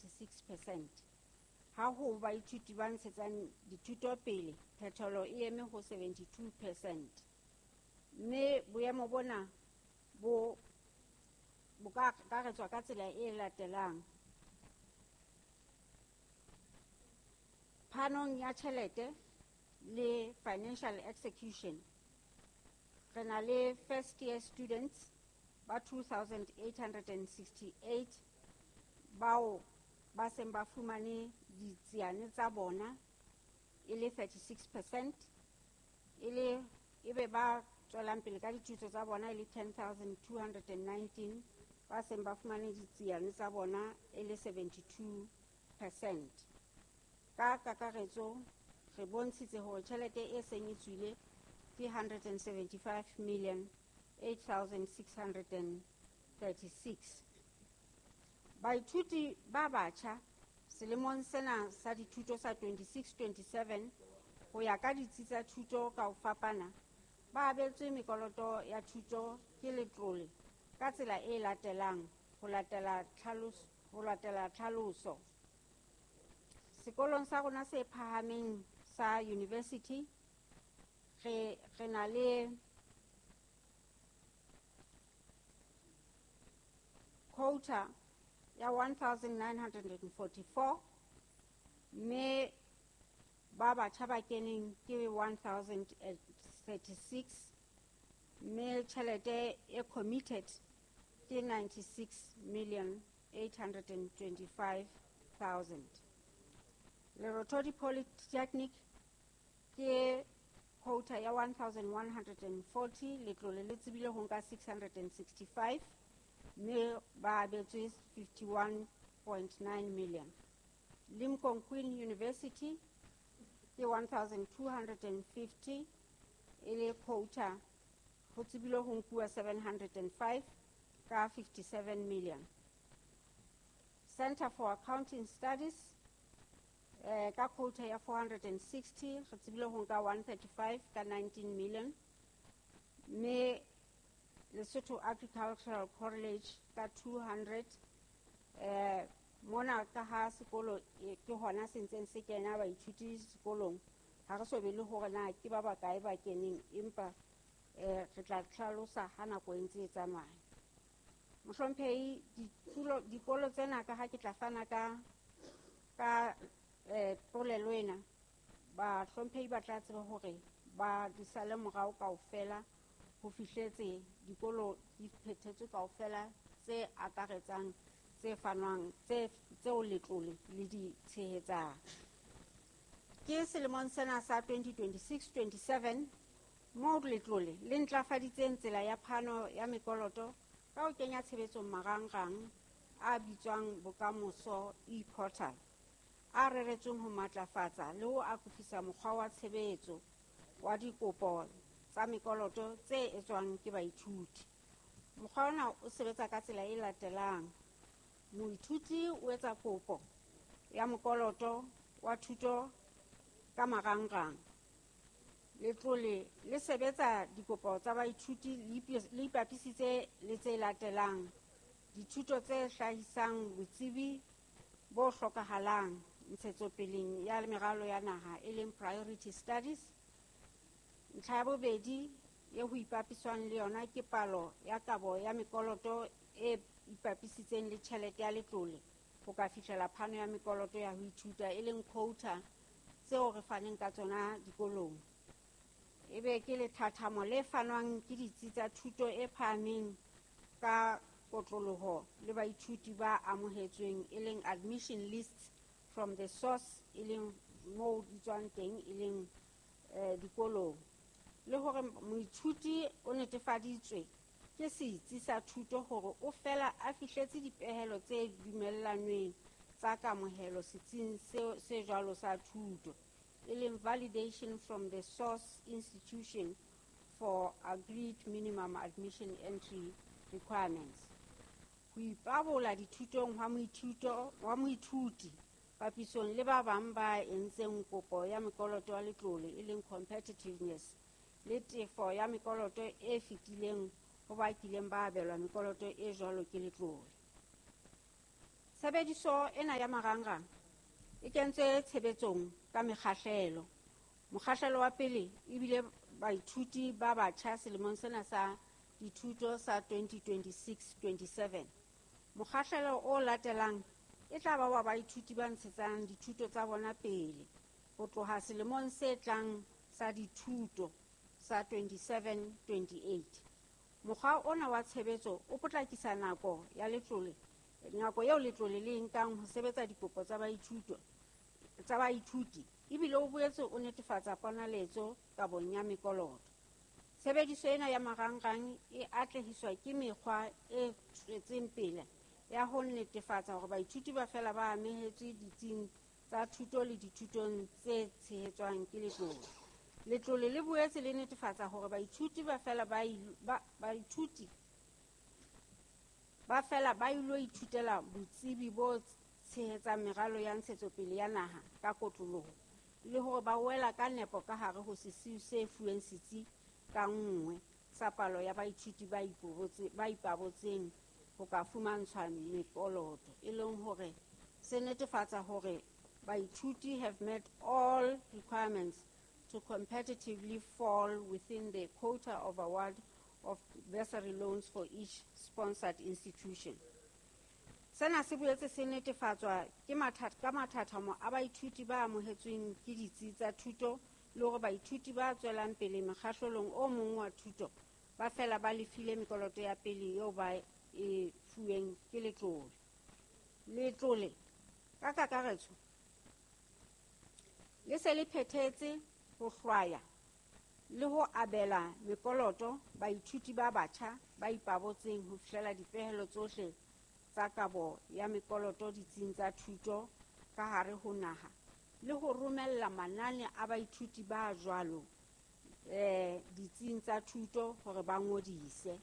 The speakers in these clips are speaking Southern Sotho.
36%. Ha ho baithuti ba ntshetsang dithuto pele, phethelo e eme ho 72%. Mme boemo bona bo ka akaretswa ka tsela e latelang. Phanong ya tjhelete le financial execution, re na le first year students ba 2868 bao ba seng ba fumane ditsiane tsa bona e le 36%, e le ebe ba tswelang pele ka dithuto tsa bona e le 10,219 ba seng ba fumane ditsiane tsa bona e le 72%. Ka kakaretso re bontshitse hore tjhelete e seng e tswile ke 175,008,636. Baithuti ba batjha selemong sena sa dithuto sa 26-27 ho ya ka ditsi tsa thuto ka ho fapana ba abetswe mekoloto ya thuto ke letlole ka tsela e latelang ho latela tlhaloso. Sekolong sa rona se phahameng sa university re na le quota ya 1944, mme ba batjha ba keneng ke 1036, mme tjhelete e committed ke 96,825,000. Lerothodi Polytechnic ke quota ya 1140, letlole le tsebile ho nka 665, mme ba abetswe 51.9 million. Limkokwing University ke 1250 e le quota, ho tsebile ho nkuwa 705 ka 57 million. Center for Accounting Studies ka quota ya 460, re tsebile ho nka 135 ka 19 million. Mme Lesotho Agricultural College ka 200, mona ka ha sekolo ke hona se ntseng se kena baithuti sekolong, ha re so be le hore na ke ba bakae ba keneng, empa re tla tlhalosa ha nako e ntse e tsamaya. Mohlomphehi, dikolo tsena ka ha ke tla fana ka polelo ena, bahlomphehi ba tla tseba hore ba di sale morao kaofela ho fihletse dikolo di phethetswe kaofela tse akaretsang tse fanwang tseo letlole le di tshehetsang. Ke selemong sena sa 2026-27 moo letlole le ntlafaditseng tsela ya phano ya mekoloto ka ho kenya tshebetsong marangrang a bitswang Bokamoso e-portal, a reretsweng ho matlafatsa le ho akofisa mokgwa wa tshebetso wa dikopo tsa mekoloto tse etswang ke baithuti. Mokgwa ona o sebetsa ka tsela e latelang. Moithuti o etsa kopo ya mokoloto wa thuto ka marangrang. Letlole le sebetsa dikopo tsa baithuti le ipapisitse le tse latelang: dithuto tse hlahisang botsebi bo hlokahalang ntshetsopeleng ya meralo ya naha, e leng priority studies. Ntlha ya bobedi e ho ipapiswang le yona ke palo ya kabo ya mekoloto e ipapisitseng le tjhelete ya letlole ho ka fihlela phano ya mekoloto ya ho ithuta, e leng quota tseo re faneng ka tsona dikolong. Ebe ke lethathamo le fanwang ke ditsi tsa thuto e phahameng ka kotloloho le baithuti ba amohetsweng, e leng admission lists from the source, e leng moo di tswang teng, e leng dikolong. Le hore moithuti o netefaditswe ke setsi sa thuto hore o fela a fihletse dipehelo tse dumellanweng tsa kamohelo setsing se jwalo sa thuto, e leng validation from the source institution for agreed minimum admission entry requirements. Ho ipabola dithutong hwa moithuti papisong le ba bang ba entseng kopo ya mekoloto ya letlole, e leng competitiveness, le tefo ya mekoloto e fetileng ho ba kileng ba abelwa mekoloto e jwalo ke letlole. Tshebediso ena ya marangrang e kentswe tshebetsong ka mekgahlelo. Mokgahlelo wa pele ebile baithuti ba batjha selemong sena sa dithuto sa 2026-27. Mokgahlelo o latelang e tla ba wa baithuti ba ntshetsang dithuto tsa bona pele ho tloha selemong se tlang sa dithuto sa 27-28. Mokgwa ona wa tshebetso o potlakisa nako ya letlole, nako eo letlole le nkang ho sebetsa dikopo tsa baithuti ebile o boetse o netefatsa ponaletso kabong ya mekoloto. Tshebediso ena ya marangrang e atlehiswa ke mekgwa e tswetseng pele ya ho netefatsa hore baithuti ba fela ba amehetswe ditsing tsa thuto le dithutong tse tshehetswang ke letlole. Letlole le boetse le netefatsa hore baithuti ba fela ba ilo ithutela botsebi bo tshehetsang meralo ya ntshetsopele ya naha ka kotloloho le hore ba wela ka nepo ka hare ho sesiu se fuweng setsi ka nngwe sa palo ya baithuti ba ipabotseng ho ka fumantshwa mekoloto, e leng hore se netefatsa hore baithuti have met all requirements to competitively fall within the quota of award of bursary loans for each sponsored institution. Sena se boetse se netefatswa ke ka mathathamo a baithuti ba amohetsweng ke ditsi tsa thuto le hore baithuti ba tswelang pele mekgahlelong o mong wa thuto ba fela ba lefile mekoloto ya pele eo ba e fuweng ke letlole. Letlole ka kakaretso le se le phethetse ho hlwaya le ho abela mekoloto baithuti ba batjha ba ipabotseng ho fihlela dipehelo tsohle tsa kabo ya mekoloto ditsing tsa thuto ka hare ho naha le ho romella manane a baithuti ba jwalo ditsing tsa thuto hore ba ngodise.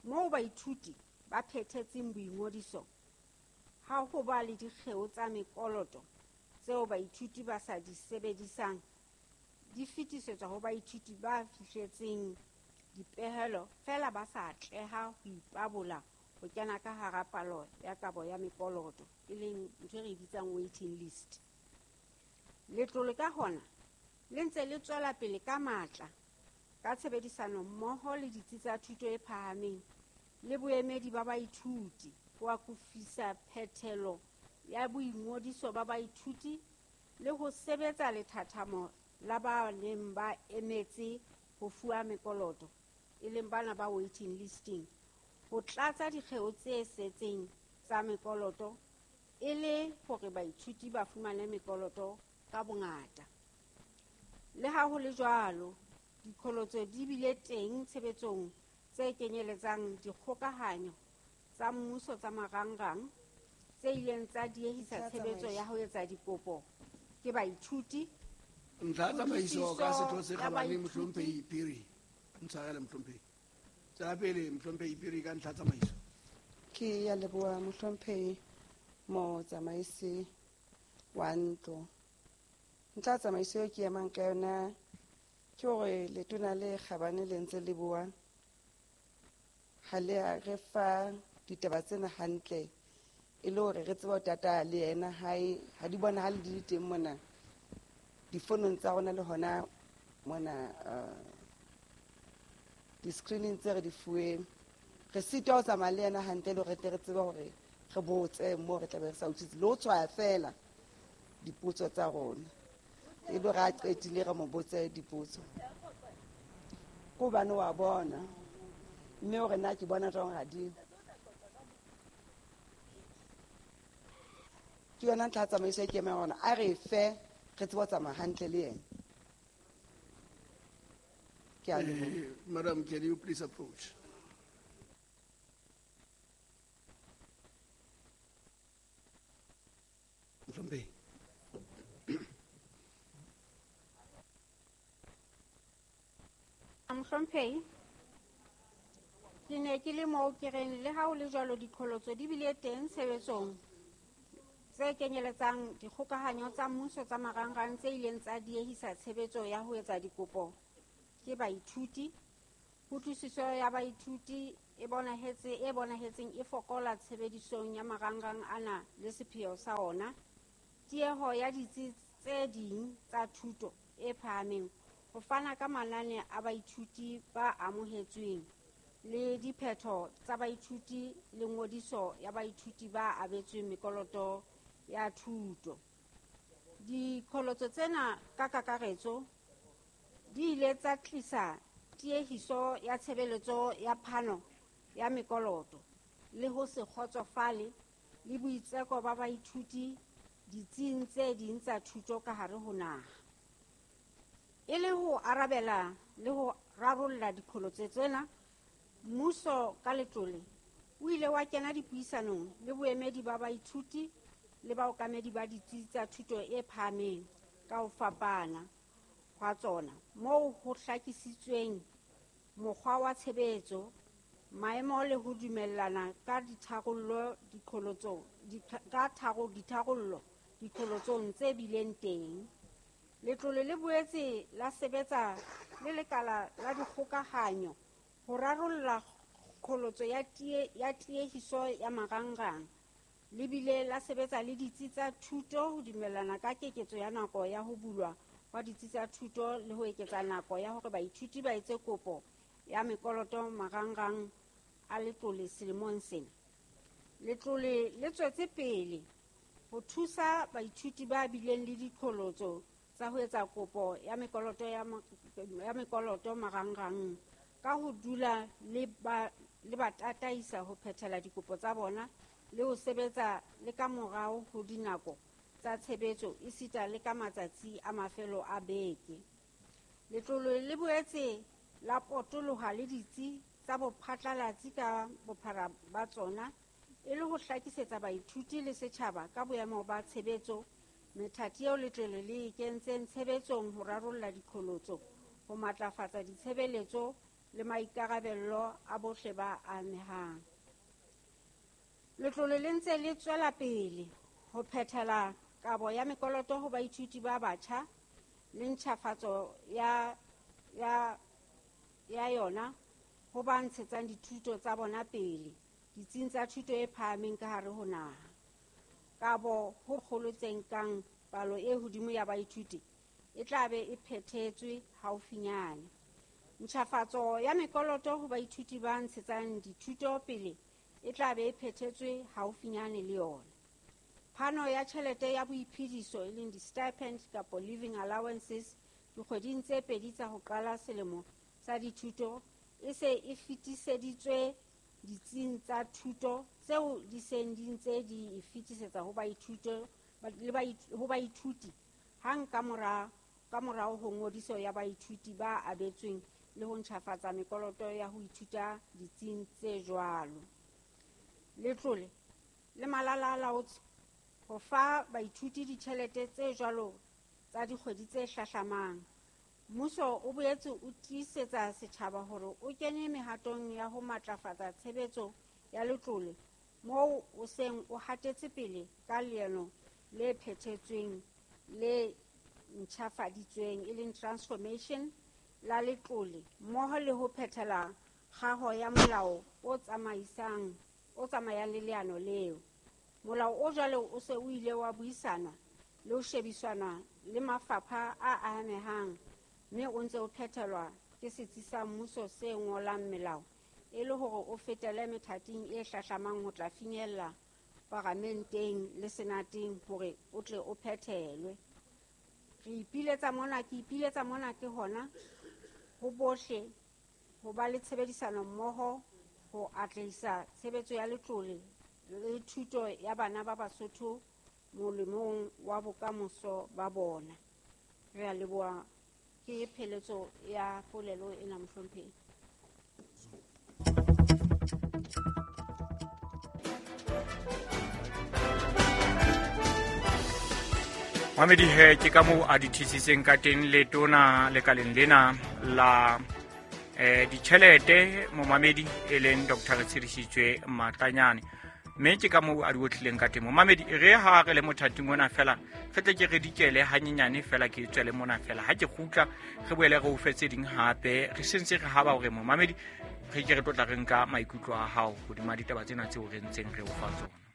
Moo baithuti ba phethetseng boingodiso ha ho ba le dikgeo tsa mekoloto tseo baithuti ba sa di sebedisang di fetisetswa ho baithuti ba fihletseng dipehelo fela ba sa atleha ho ipabola ho kena ka hara palo ya kabo ya mekoloto, e leng ntho e re bitsang waiting list. Letlole ka hona le ntse le tswela pele ka matla ka tshebedisano mmoho le ditsi tsa thuto e phahameng le boemedi ba baithuti ho akofisa phethelo ya boingodiso ba baithuti le ho sebetsa lethathamo la ba neng ba emetse ho fuwa mekoloto, e leng bana ba waiting listing, ho tlatsa dikgeo tse setseng tsa mekoloto e le hore baithuti ba fumane mekoloto ka bongata. Le ha ho le jwalo, diqholotso di bile teng tshebetsong tse kenyeletsang dikgokahanyo tsa mmuso tsa marangrang tse ileng tsa diehisa tshebetso ya ho etsa dikopo ke baithuti. Ntlha tsamaiso ka setho se kgabane Mohlomphehi Phiri. Ntshwarele Mohlomphehi. Tswela pele Mohlomphehi Phiri ka ntlha tsamaiso. Ke ya leboha Mohlomphehi motsamaisi wa ntlo. Ntlha tsamaiso e ke emang ka yona ke hore letona le kgabane le ntse le bua ha le a re fa ditaba tsena hantle e le hore re tsebe ho tata le yena hae ha di bonahale di le teng mona difonong tsa rona le hona mona di-screening tse re di fuweng. Re sitwa ho tsamaya le yena hantle le hore re tle re tsebe hore re botse moo re tlabe re sa utlwisise le ho tshwaya fela dipotso tsa rona e le hore a qetile re mo botse dipotso. Ke hobane wa bona mme hore na ke bona jwang ha di. Ke yona ntlha ya tsamaiso e ke emang hona a re fe re tsebe ho tsamaya hantle le yena. Ke a leboha. Madam, can you please approach? Mohlomphehi. Mohlomphehi, ke ne ke le moo ke reng le ha ho le jwalo diqholotso di bile teng tshebetsong tse kenyeletsang dikgokahanyo tsa mmuso tsa marangrang tse ileng tsa diehisa tshebetso ya ho etsa dikopo ke baithuti, kutlwisiso ya baithuti e bonahetseng e fokola tshebedisong ya marangrang ana le sepheo sa ona, tieho ya ditsi tse ding tsa thuto e phahameng ho fana ka manane a baithuti ba amohetsweng le diphetho tsa baithuti le ngodiso ya baithuti ba abetsweng mekoloto ya thuto. Diqholotso tsena ka kakaretso di ile tsa tlisa tiehiso ya tshebeletso ya phano ya mekoloto le ho se kgotsofale le boitseko ba baithuti ditsing tse ding tsa thuto ka hare ho naha. E le ho arabela le ho rarolla diqholotso tsena, mmuso ka letlole o ile wa kena dipuisanong le boemedi ba baithuti le baokamedi ba ditsi tsa thuto e phahameng ka ho fapana hwa tsona, moo ho hlakisitsweng mokgwa wa tshebetso, maemo le ho dumellana ka ditharollo diqholotsong tse bileng teng. Letlole le boetse la sebetsa le lekala la dikgokahanyo ho rarolla qholotso ya tiehiso ya marangrang, le bile la sebetsa le ditsi tsa thuto ho dumellana ka keketso ya nako ya ho bulwa hwa ditsi tsa thuto le ho eketsa nako ya hore baithuti ba etse kopo ya mekoloto marangrang a letlole selemong sena. Letlole le tswetse pele ho thusa baithuti ba bileng le diqholotso tsa ho etsa kopo ya mekoloto ya mekoloto marangrang ka ho dula le ba tataisa ho phethela dikopo tsa bona le ho sebetsa le ka morao ho dinako tsa tshebetso esita le ka matsatsi a mafelo a beke. Letlole le boetse la potoloha le ditsi tsa bophatlalatsi ka bophara ba tsona e le ho hlakisetsa baithuti le setjhaba ka boemo ba tshebetso, methati eo letlole le e kentseng tshebetsong ho rarolla diqholotso, ho matlafatsa ditshebeletso le maikarabello a bohle ba amehang. Letlole le ntse le tswela pele ho phethela kabo ya mekoloto ho baithuti ba batjha le ntjhafatso ya yona ho ba ntshetsang dithuto tsa bona pele ditsing tsa thuto e phahameng ka hare ho naha. Kabo ho kgolo tse nkang palo e hodimo ya baithuti e tla be e phethetswe haufinyane. Ntjhafatso ya mekoloto ho baithuti ba ntshetsang dithuto pele e tla be e phethetswe haufinyane le yona. Phano ya tjhelete ya boiphediso e leng di-stipend kapa living allowances dikgweding tse pedi tsa ho qala selemo sa dithuto e se e fetiseditswe ditsing tsa thuto tseo di seng di ntse di e fetisetsa ho baithuti hang ka morao ho ngodiso ya baithuti ba abetsweng le ho ntjhafatsa mekoloto ya ho ithuta ditsing tse jwalo. Letlole le malala a laotswe ho fa baithuti ditjhelete tse jwalo tsa dikgwedi tse hlahlamang. Mmuso o boetse o tiisetsa setjhaba hore o kene mehatong ya ho matlafatsa tshebetso ya letlole moo o seng o hatetse pele ka leano le phethetsweng le ntjhafaditsweng e leng transformation la letlole mmoho le ho phethela kgaho ya molao o tsamayang le leano leo. Molao o jwalo o se o ile wa buisanwa le ho shebisana le mafapha a amehang mme o ntse o phethelwa ke setsi sa mmuso se ngolang melao e le hore o fetele methating e hlahlamang ho tla finyella paramenteng le senateng hore o tle o phethelwe. Ke ipiletsa mona ke hona ho bohle ho ba le tshebedisano mmoho ho atlehisa tshebetso ya letlole le thuto ya bana ba Basotho molemong wa bokamoso ba bona. Re a leboha. Ke pheletso ya polelo ena, mohlomphehi. Mamedi he ke ka moo a di thisitseng ka teng letona lekaleng lena la ditjhelete momamedi e leng Dr. Retshidisitswe Matlanyane. Mme ke ka moo a di otlileng ka teng momamedi. Re ha re le mothating ona fela re tle ke re dikele hanyenyane fela ke tswele mona fela ha ke kgutla re boele re o fe tse ding hape re sentse re haba hore momamedi Re ke re tlo tla re nka maikutlo a hao hodima ditaba tsena tseo re ntseng re o fa tsona.